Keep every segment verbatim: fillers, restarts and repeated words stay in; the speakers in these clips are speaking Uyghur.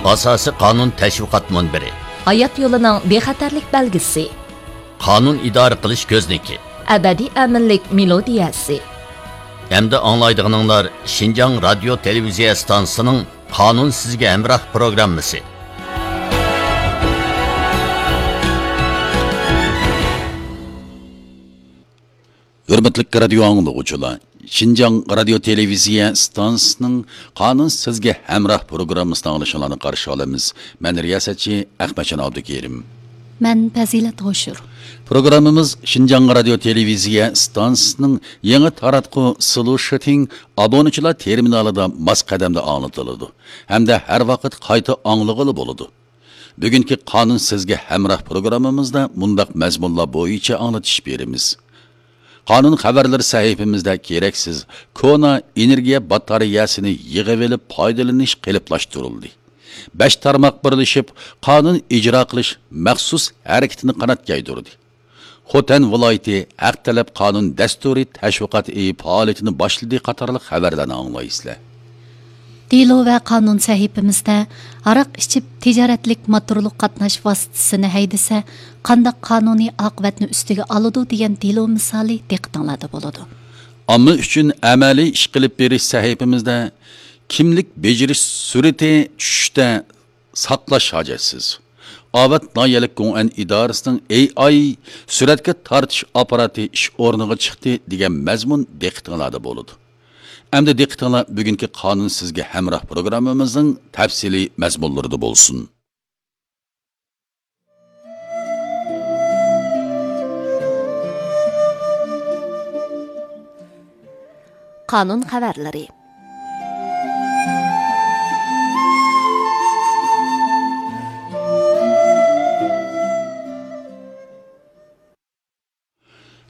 ئاساسىي قانۇن تەشۋىقات مۇنبىرى. ھايات يولىنىڭ بىخەتەرلىك بەلگىسى. قانۇن ئىدارە قىلىش كۆزنىكى. ئەبەدىي ئەمىنلىك مېلودىيەسى. ئەمدى ئاڭلايدىغىنىڭلار شىنجاڭ رادىيو تېلېۋىزىيە ئىستانسىسىنىڭ قانۇن سىزگە ھەمراھ پروگراممىسى. ھۆرمەتلىك رادىيو ئاڭلىغۇچىلار، شىنجاڭ رادىيو تېلېۋىزىيە ئىستانسىسىنىڭ قانۇن سىزگە ھەمراھ پروگراممىسىنى ئاڭلىشىڭلارنى قارشى ئالىمىز. مەن رىياسەتچى ئەخمەتجان ئابدۇكېرىم. مەن پەزىلەت ھوشۇر. پروگراممىمىز شىنجاڭ رادىيو تېلېۋىزىيە ئىستانسىسىنىڭ يېڭى تاراتقۇ سلۇشىتىڭ ئابۇنىچىلار تېرمىنالىدا ماس قەدەمدە ئاڭلىتىلىدۇ ھەمدە ھەر ۋاقىت قايتا ئاڭلىغىلى بولىدۇ. بۈگۈنكى قانۇن سىزگە ھەمراھ پروگراممىمىزدا مۇنداق مەزمۇنلار بويىچە ئاڭلىتىش بېرىمىز. قانۇن خەۋەرلىرى سەھىپىمىزدە كېرەكسىز كونا ئېنېرگىيە باتارېيەسىنى يىغىۋېلىپ پايدىلىنىش قېلىپلاشتۇرۇلدى. بەش تارماق بىرلىشىپ قانۇن ئىجرا قىلىش مەخسۇس ھەرىكىتىنى قانات يايدۇردى. خوتەن ۋىلايىتى ھەق تەلەپ قانۇن دەستۇرى تەشۋىقات ئېيى پائالىيىتىنى باشلىدى قاتارلىق خەۋەرلەرنى ئاڭلايسىلەر. دېلو ۋە قانۇن سەھىپىمىزدە ھاراق ئىچىپ تىجارەتلىك موتورلۇق قاتناش ۋاسىتىسىنى ھەيدىسە، قانداق قانۇنىي ئاقىۋەتنى ئۈستىگە ئالىدۇ دېگەن دېلو مىسالى دىققىتىڭلاردا بولىدۇ. ئامما ئۈچۈن ئەمەلىي ئىش قىلىپ بېرىش سەھىپىمىزدە كىملىك بېجىرىش سۈرئىتى چۈشۈشتە ساقلاش ھاجەتسىز. ئاۋەت ناھىيەلىك گوڭئەن ئىدارىسىنىڭ ئېي ئاي سۈرەتكە تارتىش ئاپپاراتى ئىش ئورنىغا چىقتى دېگەن مەزمۇن دىققىتىڭلاردا بولىدۇ. ئەمدى دىققىتىڭلار بۈگۈنكى قانۇن سىزگە ھەمراھ پروگراممىمىزنىڭ تەپسىلىي مەزمۇنلىرىدا بولسۇن. قانۇن خەۋەرلىرى.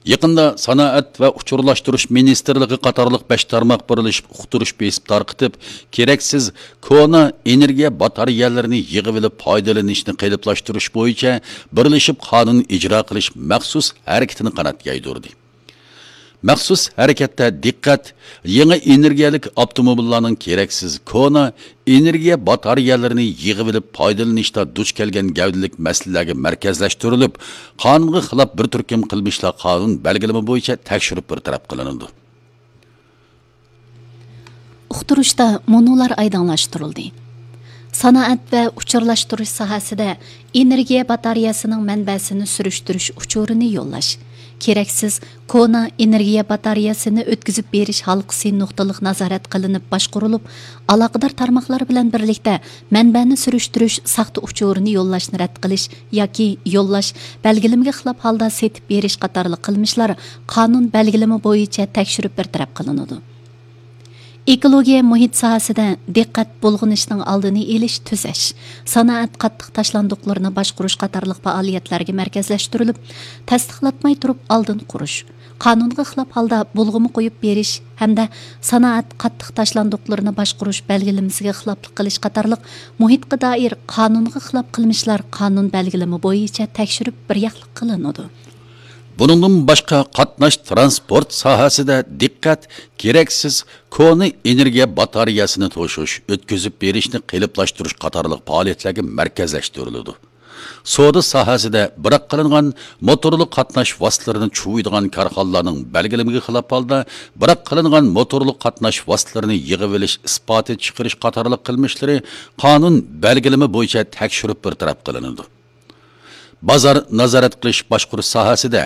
يېقىندا سانائەت ۋە ئۇچۇرلاشتۇرۇش مىنىستىرلىقى قاتارلىق بەش تارماق بىرلىشىپ ئۇقتۇرۇش بېسىپ تارقىتىپ، كېرەكسىز كونا ئېنېرگىيە باتارېيەلىرىنى يىغىۋېلىپ پايدىلىنىشنى قېلىپلاشتۇرۇش بويىچە بىرلىشىپ قانۇن ئىجرا قىلىش مەخسۇس ھەرىكىتىنى قانات يايدۇردى. مەخسۇس ھەرىكەتتە دىققەت يېڭى ئېنېرگىيەلىك ئاپتوموبىللارنىڭ كېرەكسىز كونا ئېنېرگىيە باتارېيەلىرىنى يىغىۋېلىپ پايدىلىنىشتا دۇچ كەلگەن گەۋدىلىك مەسىلىلەرگە مەركەزلەشتۈرۈلۈپ، قانۇنغا خىلاپ بىر تۈركۈم قىلمىشلار قانۇن بەلگىلىمە بويىچە تەكشۈرۈپ بىر تەرەپ قىلىنىدۇ. ئۇقتۇرۇشتا مۇنۇلار ئايدىڭلاشتۇرۇلدى. سانائەت ۋە ئۇچۇرلاشتۇرۇش ساھەسىدە ئېنېرگىيە باتارېيەسىنىڭ مەنبەسىنى سۈرۈشتۈرۈش ئۇچۇرىنى يوللاش. كېرەكسىز كونا ئېنېرگىيە باتارېيەسىنى ئۆتكۈزۈپ بېرىش ھالقىسى نۇقتىلىق نازارەت قىلىنىپ باشقۇرۇلۇپ، ئالاقىدار تارماقلار بىلەن بىرلىكتە مەنبەنى سۈرۈشتۈرۈش ساختا ئۇچۇرىنى يوللاشنى رەت قىلىش ياكى يوللاش، بەلگىلىمىگە خىلاپ ھالدا سېتىپ بېرىش قاتارلىق قىلمىشلار قانۇن بەلگىلىمە بويىچە تەكشۈرۈپ بىر تەرەپ قىلىنىدۇ. ئېكولوگىيە مۇھىت ساھەسىدە دىققەت بۇلغىنىشنىڭ ئالدىنى ئېلىش، تۈزەش، سانائەت قاتتىق تاشلاندۇقلىرىنى باشقۇرۇش قاتارلىق پائالىيەتلەرگە مەركەزلەشتۈرۈلۈپ، تەستىقلاتماي تۇرۇپ ئالدىن قۇرۇش، قانۇنغا خىلاپ ھالدا بۇلغىما قويۇپ بېرىش ھەمدە سانائەت قاتتىق تاشلاندۇقلىرىنى باشقۇرۇش بەلگىلىمىسىگە خىلاپلىق قىلىش قاتارلىق مۇھىتقا دائىر قانۇنغا خىلاپ قىلمىشلار قانۇن بەلگىلىمە بويىچە تەكشۈرۈپ بىر ياقلىق قىلىنىدۇ. بۇنىڭدىن باشقا، قاتناش تىرانسپورت ساھەسىدە دىققەت كېرەكسىز كونا ئېنېرگىيە باتارېيەسىنى توشۇش، ئۆتكۈزۈپ بېرىشنى قېلىپلاشتۇرۇش قاتارلىق پائالىيەتلەرگە مەركەزلەشتۈرۈلىدۇ. سودا ساھەسىدە بىراق قىلىنغان موتورلۇق قاتناش ۋاسىتىلىرىنى چۇۋۇيدىغان كارخانىلارنىڭ بەلگىلىمىگە خىلاپ ھالدا بىراق قىلىنغان موتورلۇق قاتناش ۋاسىتىلىرىنى يىغىۋېلىش ئىسپاتى چىقىرىش قاتارلىق قىلمىشلىرى قانۇن بەلگىلىمە بويىچە تەكشۈرۈپ بىر تەرەپ قىلىنىدۇ. بازار نازارەت قىلىش باشقۇرۇش ساھەسىدە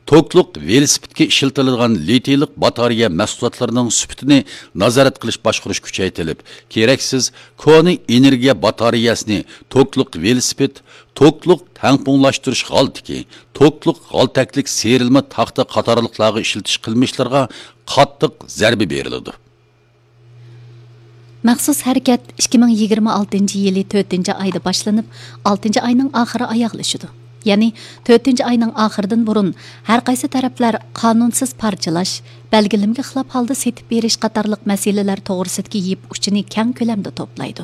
توكلۇق ۋېلىسىپىتكە ئىشلىتىلىدىغان لىتىيلىق باتارېيە مەھسۇلاتلىرىنىڭ سۈپىتىنى نازارەت قىلىش باشقۇرۇش كۈچەيتىلىپ، كېرەكسىز كونا ئېنېرگىيە باتارېيەسىنى توكلۇق ۋېلىسىپىت، توكلۇق تەڭپۇڭلاشتۇرۇش غالتىكى، توكلۇق غالتەكلىك سىيرىلما تاختا قاتارلىقلارغا ئىشلىتىش قىلمىشلىرىغا قاتتىق زەربە بېرىلىدۇ. مەخسۇس ھەرىكەت ئىككى مىڭ يىگىرمە ئالتىنچى يىلى تۆتىنچى ئايدا باشلىنىپ، ئالتىنچى ئاينىڭ ئاخىرى ئاياغلىشىدۇ. يەنى تۆتىنچى ئاينىڭ ئاخىرىدىن بۇرۇن ھەر قايسى تەرەپلەر قانۇنسىز پارچىلاش، بەلگىلىمىگە خىلاپ ھالدا سېتىپ بېرىش قاتارلىق مەسىلىلەر توغرىسىدىكى يىپ ئۇچىنى كەڭ كۆلەمدە توپلايدۇ.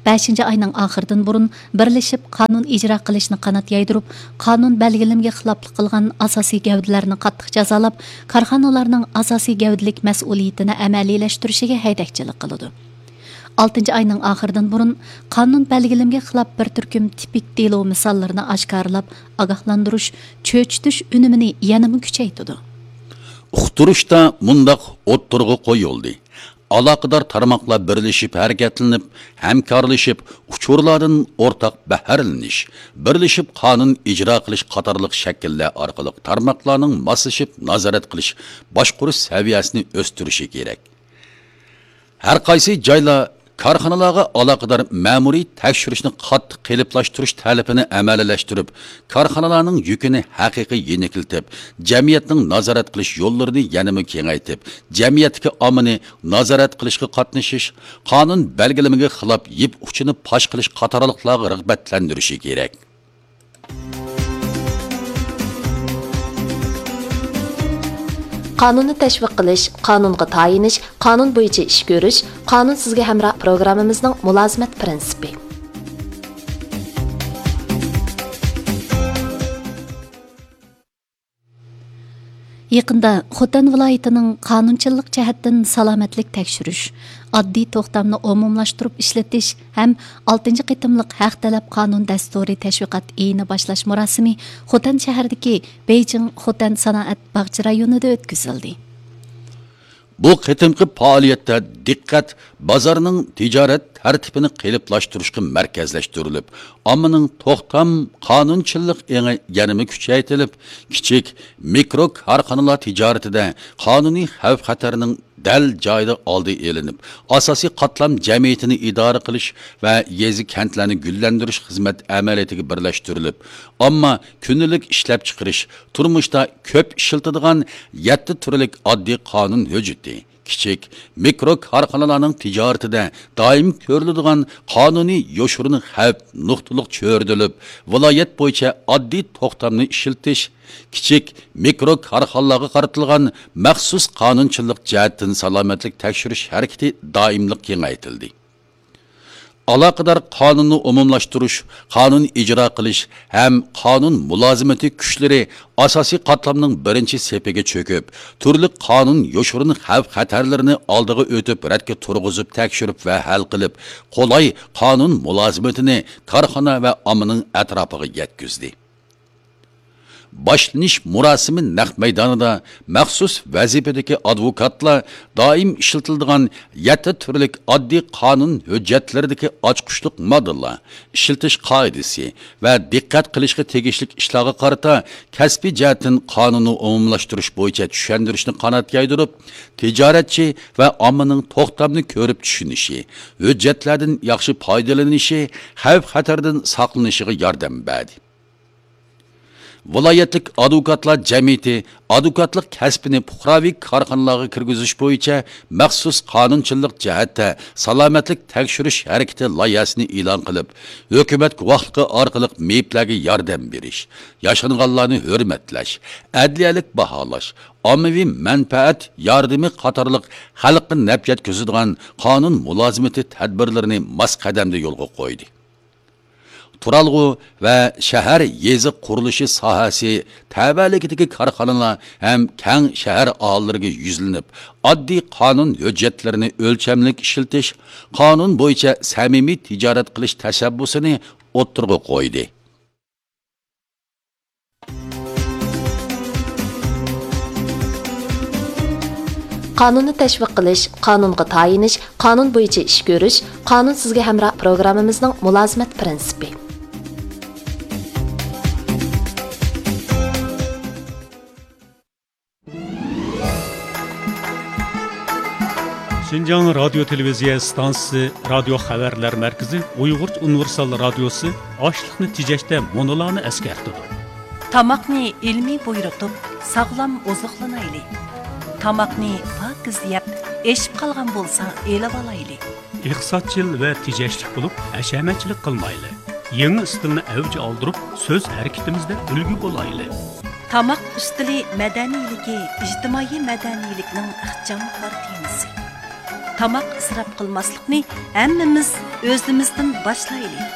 بەشىنچى ئاينىڭ ئاخىرىدىن بۇرۇن بىرلىشىپ قانۇن ئىجرا قىلىشنى قانات يايدۇرۇپ، قانۇن بەلگىلىمىگە خىلاپلىق قىلغان ئاساسىي گەۋدىلەرنى قاتتىق جازالاپ، كارخانىلارنىڭ ئاساسىي گەۋدىلىك مەسئۇلىيىتىنى ئەمەلىيلەشتۈرۈشىگە ھەيدەكچىلىك قىلىدۇ. ئالتىنچى ئاينىڭ ئاخىرىدىن بۇرۇن قانۇن بەلگىلىمىگە خىلاپ بىر تۈركۈم تىپىك دېلو مىساللىرىنى ئاشكارىلاپ، ئاگاھلاندۇرۇش، چۆچۈتۈش ئۈنۈمىنى يەنىمۇ كۈچەيتىدۇ. ئۇقتۇرۇشتا مۇنداق ئوتتۇرىغا قويۇلدى: ئالاقىدار تارماقلار بىرلىشىپ ھەرىكەتلىنىپ، ھەمكارلىشىپ، ئۇچۇرلاردىن ئورتاق بەھرىلىنىش، بىرلىشىپ قانۇن ئىجرا قىلىش قاتارلىق شەكىللەر ئارقىلىق تارماقلارنىڭ ماسلىشىپ نازارەت قىلىش، باشقۇرۇش سەۋىيەسىنى ئۆستۈرۈشى كېرەك. ھەر قايسى جايلار كارخانىلارغا ئالاقىدار مەمۇرىي تەكشۈرۈشنى قاتتىق قېلىپلاشتۇرۇش تەلىپىنى ئەمەلىيلەشتۈرۈپ، كارخانىلارنىڭ يۈكىنى ھەقىقىي يېنىكلىتىپ، جەمئىيەتنىڭ نازارەت قىلىش يوللىرىنى يەنىمۇ كېڭەيتىپ، جەمئىيەتتىكى ئاممىنى نازارەت قىلىشقا قاتنىشىش، قانۇن بەلگىلىمىگە خىلاپ يىپ ئۇچىنى پاش قىلىش قاتارلىقلارغا رىغبەتلەندۈرۈشى كېرەك. قانۇننى تەشۋىق قىلىش، قانۇنغا تايىنىش، قانۇن بويىچە ئىش كۆرۈش، قانۇن سىزگە ھەمراھ پروگراممىمىزنىڭ مۇلازىمەت پىرىنسىپى. يېقىندا خوتەن ۋىلايىتىنىڭ قانۇنچىللىق جەھەتتىن سالامەتلىك تەكشۈرۈش، ئاددىي توختامنى ئومۇملاشتۇرۇپ ئىشلىتىش ھەم ئالتىنچى قېتىملىق ھەق تەلەپ قانۇن دەستۇرى تەشۋىقات ئېيىنى باشلاش مۇراسىمى خوتەن شەھىرىدىكى بېيجىڭ خوتەن سانائەت باغچە رايونىدا ئۆتكۈزۈلدى. بۇ قېتىمقى پائالىيەتتە دىققەت بازارنىڭ تىجارەت تەرتىپىنى قېلىپلاشتۇرۇشقا مەركەزلەشتۈرۈلۈپ، ئاممىنىڭ توختام قانۇنچىللىق ئېڭى يەنىمۇ كۈچەيتىلىپ، كىچىك، مىكرو كارخانىلار تىجارىتىدە قانۇنىي خەۋپ-خەتەرنىڭ دەل جايىدا ئالدى ئېلىنىپ، ئاساسىي قاتلام جەمئىيىتىنى ئىدارە قىلىش ۋە يېزا، كەنتلەرنى گۈللەندۈرۈش خىزمەت ئەمەلىيىتىگە بىرلەشتۈرۈلۈپ، ئامما كۈندىلىك ئىشلەپچىقىرىش، تۇرمۇشتا كۆپ ئىشلىتىدىغان يەتتە تۈرلۈك ئاددىي قانۇن ھۆججىتى، كىچىك، مىكرو كارخانىلارنىڭ تىجارىتىدە دائىم كۆرۈلىدىغان قانۇنىي يوشۇرۇن خەۋپ نۇقتىلىق چۆرىدىلىپ، ۋىلايەت بويىچە ئاددىي توختامنى ئىشلىتىش، كىچىك، مىكرو كارخانىلارغا قارىتىلغان مەخسۇس قانۇنچىلىق جەھەتتىن سالامەتلىك تەكشۈرۈش ھەرىكىتى دائىملىق كېڭەيتىلدى. ئالاقىدار قانۇننى ئومۇملاشتۇرۇش، قانۇن ئىجرا قىلىش ھەم قانۇن مۇلازىمىتى كۈچلىرى ئاساسىي قاتلامنىڭ بىرىنچى سېپىگە چۆكۈپ، تۈرلۈك قانۇن يوشۇرۇن خەۋپ-خەتەرلىرىنى ئالدىغا ئۆتۈپ، رەتكە تۇرغۇزۇپ، تەكشۈرۈپ ۋە ھەل قىلىپ، قولاي قانۇن مۇلازىمىتىنى كارخانا ۋە ئاممىنىڭ ئەتراپىغا يەتكۈزدى. باشلىنىش مۇراسىمى نەق مەيدانىدا مەخسۇس ۋەزىپىدىكى ئادۋوكاتلار دائىم ئىشلىتىلىدىغان يەتتە تۈرلۈك ئاددىي قانۇن ھۆججەتلىرىدىكى ئاچقۇچلۇق ماددىلار، ئىشلىتىش قائىدىسى ۋە دىققەت قىلىشقا تېگىشلىك ئىشلارغا قارىتا كەسپىي جەھەتتىن قانۇننى ئومۇملاشتۇرۇش بويىچە چۈشەندۈرۈشنى قانات يايدۇرۇپ، تىجارەتچى ۋە ئاممىنىڭ توختامنى كۆرۈپ چۈشىنىشى، ھۆججەتلەردىن ياخشى پايدىلىنىشى، خەۋپ-خەتەردىن ساقلىنىشىغا ياردەم بەردى. ۋىلايەتلىك ئادۋوكاتلار جەمئىيىتى ئادۋوكاتلىق كەسپىنى پۇقراۋى كارخانىلارغا كىرگۈزۈش بويىچە مەخسۇس قانۇنچىلىق جەھەتتە سالامەتلىك تەكشۈرۈش ھەرىكىتى لايىھەسىنى ئېلان قىلىپ، ھۆكۈمەت گۇۋاھلىقى ئارقىلىق مېيىپلەرگە ياردەم بېرىش، ياشانغانلارنى ھۆرمەتلەش، ئەدلىيەلىك باھالاش، ئاممىۋى مەنپەئەت ياردىمى قاتارلىق خەلققە نەپ يەتكۈزىدىغان قانۇن مۇلازىمىتى تەدبىرلىرىنى ماس قەدەمدە يولغا قويدى. تۇرالغۇ ۋە شەھەر، يېزا قۇرۇلۇشى ساھەسى تەۋەلىكىدىكى كارخانىلار ھەم كەڭ شەھەر ئاھالىلىرىگە يۈزلىنىپ، ئاددىي قانۇن ھۆججەتلىرىنى ئۆلچەملىك ئىشلىتىش، قانۇن بويىچە سەمىمىي تىجارەت قىلىش تەشەببۇسىنى ئوتتۇرىغا قويدى. قانۇننى تەشۋىق قىلىش، قانۇنغا تايىنىش، قانۇن بويىچە ئىش كۆرۈش، قانۇن سىزگە ھەمراھ پروگراممىمىزنىڭ مۇلازىمەت پىرىنسىپى. شىنجاڭ رادىيو تېلېۋىزىيە ئىستانسىسى رادىيو خەۋەرلەر مەركىزى ئۇيغۇرچە ئۇنىۋېرسال رادىيوسى ئاشلىقنى تېجەشتە مۇنۇلارنى ئەسكەرتىدۇ. تاماقنى ئىلمىي بۇيرۇتۇپ، ساغلام ئوزۇقلىنايلى. تاماقنى پاكىز يەپ، ئېشىپ قالغان بولسا ئېلىۋالايلى. ئىقتىسادچىل ۋە تېجەشلىك بولۇپ، ھەشەمەتچىلىك قىلمايلى. يېڭى ئىستىلنى ئەۋج ئالدۇرۇپ، سۆز ھەرىكىتىمىزدە ئۈلگە بولايلى. تاماق ئۈستىلى مەدەنىيلىكى، ئىجتىمائىي مەدەنىيلىكنىڭ ئىخچام قارا تېمىسى. تاماق ئىسراپ قىلماسلىقنى ھەممىمىز ئۆزىمىزدىن باشلايلى.